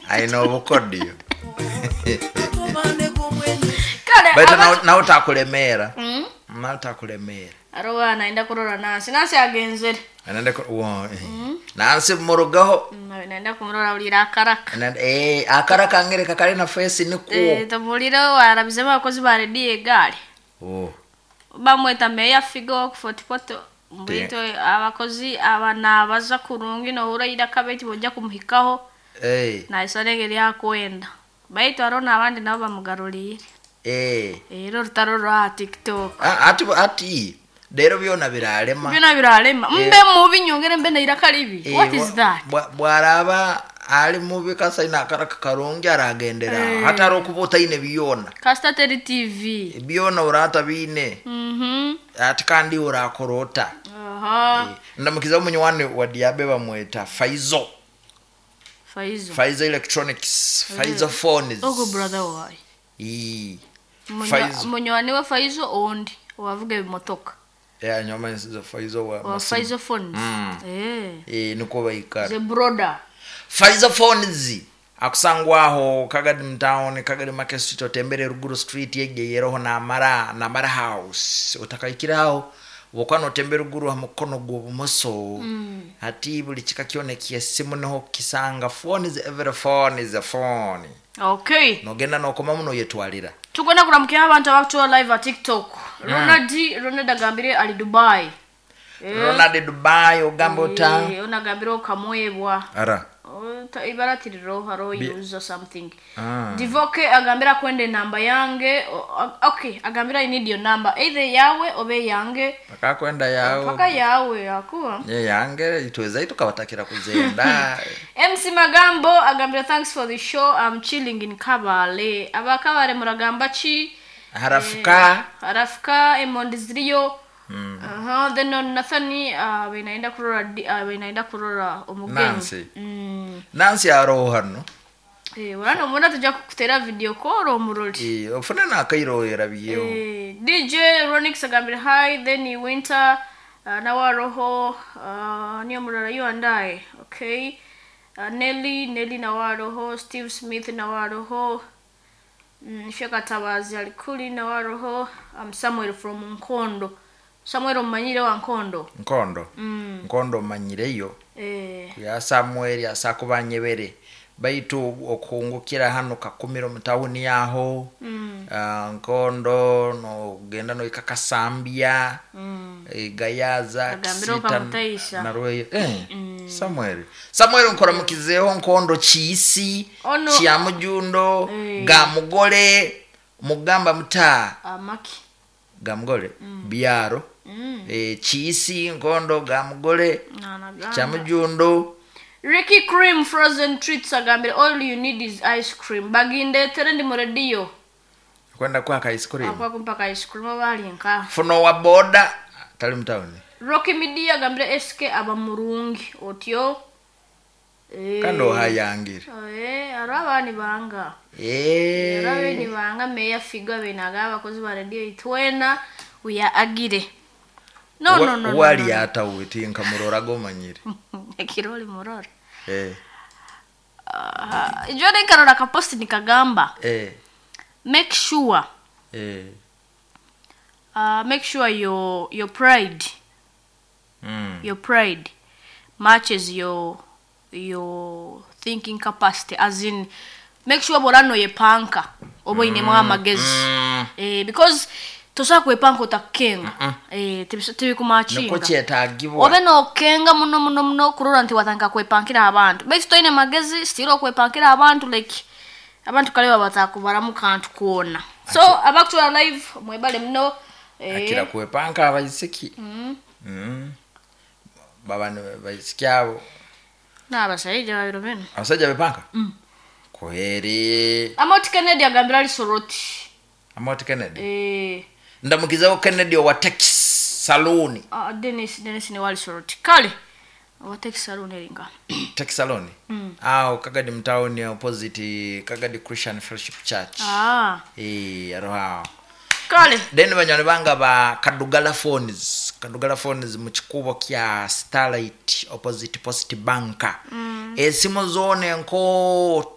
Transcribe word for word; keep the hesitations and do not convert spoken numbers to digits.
Aina obukodyo. Kale. Baitu abatu- nawe- nawe takulemeera. Mm. Nawe takulemeera. Arowa naenda kurora Nansi. Nansi agenzere. Anaenda ku- wo, eh. Nansi murugaho. Mm, naenda kumurora ulira akaraka. Anaenda- eh, akara kangereka kali na face nikwo. Eh, tabulire warabizemu abakozi ba rediyo egaali. Oh. Bamweta meya Figo kufotipoto mbwito abakozi aba nabaza kurungi nohura iraka baitu bojja kumuhikaho. Eh. Naisana engeri yakwenda, baitu hariho n'abandi nabo bamugaruriire. Eh. Era orutaro rwa TikTok. Ah, ati ati rero byona biralema. Byona birarema, mbe mubi nyongere mbe nairaka ribi. Eh, What is bwa- that? bwa- bwaraba ali mubi kasaina akaraka karungi aragendera Eh. hatari okuba otaine byona. Kasita teri T V. Byona orata biine. Mhm. Ati kandi orakora ota? Aha. Ndamukiza omunywani wa Diabe bamweta Faizo. Faizo. Faizo Electronics, Faizo Phones. Ogo brother wayi. Ii. Munywa- Faizo. Munywani wa Faizo ondi owavuga ebimotoka. Yeah, nyoma nsizo Faizo wa Wa masimu. Faizo Phones. Mm. Eh. Eh, niko baikara. The brother. Faizo Phones akusangwaho Kagadi mtown, Kagadi Market Street, otembere Ruguru Street yegeyeroho namara namara house otakaikiraho bwokuba notembera ruguru ha mukono gw'obumoso. mm. Hati buli kika kyona ekyesimu niho kisanga. Phone is every phone is a phone. Okay. Nogenda nokomamu noyetwalira. Tugenda kuramukira abantu abakutuwa live a TikTok. Ronald, Ronald agambire ali Dubai. Eh, Ronald Dubai, ogamba ota? Eh, onagambire okamwebwa. Ara. Oh, ta- ibara tiriro haro use something. Ah. Divoke agambira kwenda enamba yange. O- a- okay, agambira I need your number, either yawe obe yange. Paka kwenda yawe. Paka yawe akuwa. Ye yange itweza tukabatakira kuzenda. M C Magambo agambira thanks for the show, I'm chilling in Kabale. Abakabale muragamba ki? Harafuka. Harafuka emondi ziriyo. Aha, then on Nathani uh, benaenda kurora di- uh, benaenda kurora omugenyi. Nancy. Mm. Nancy aroho hano. Eh, urano mubona tujja kukutera video call omurori. Eh, ofune nakairohera biyeho. Eh, D J Ronix agambire hi, then Winter uh, nawe aroho, uh, niyo murara you and I. Okay. Uh, Nelly, Nelly nawe aroho, Steve Smith nawe aroho. Mm, Sheka Tabazi alikuli nawe aroho. Um, Samuel from Nkondo. Samuel omanyire wa Nkondo. Nkondo. Mm. Nkondo manyireyo. Eh, Ya Samuel asakuba nyebere baitu okungukira hano Kakumiro mutawuni yaho. mm. uh, nkondo nogenda noika Kasambya. Mm. eh, gayaza. Agambire Kisita okamutaisha. Narweyo. eh, samuel samuel nkoramukizeho Nkondo Kiisi. Ono- Kyamujundo. Eh. Gamugole mugamba muta? Amaki. Gamugole byaro. Mm. eh, kiisi Nkondo, Gamugole. Nanagamba. Kyamujundo. Ricky Cream Frozen Treats agambire all you need is ice cream. Bagindetere ndi mu radio. Kwenda kwaka ice cream. Akwa kumpaka ice cream oba ali nka. Funo wa boda tali mutawuni. Rocky Media agambire S K aba murungi otyo. Eh, Kandi ohayangire. Eh, aro abaani banga. Eh. Aro abeeni banga meya Figa benaga abakozi ba radio itwena we are agire. No, no, no, no. Wali No. atawe tinka murora gomanyire. Ekiroli murora. Eh. Uh, ijo nkarora kaposti nikagamba Eh. make sure Eh. uh, make sure your your pride Mm. your pride matches your your thinking capacity, as in make sure bw'oba noyepanka oba oyinemu amagezi. Mm. eh, because tosobola kwepanka otakukenga, eh, tebis- Niko tebikumakinga. Kyetagibwa. Obe nokenga muno muno muno kurora nti watandika kwepankira abantu, baitu toine magezi still okwepankira abantu, like abantu kale baba batakubaramu kantu kwona. So abakutwara live mwebale muno, eh, Akira kwepanka abaisiki. mm, Mm. Baba baisiki abo. N'abashaija babiro bino. Abasajja bepanka? Mm. Kweri. Amoti Kennedy agambira ali Soroti. Amoti Kennedy. Eh, Ndamukizaho Kennedy owa Tex Saloon. Ah, Dennis, Dennis ni wali Soroti kale owa Tex Saloon eringa. Tex Saloon. Mm. Awo Kagadi mtown opposite Kagadi Christian Fellowship Church. Ah, Eh, aroho awo. Kale. Then banywani banga ba Kadugala Phones, Kadugala Phones mu kikubo kya Starlight opposite Post Bank. mm. Esimu zona enkooto.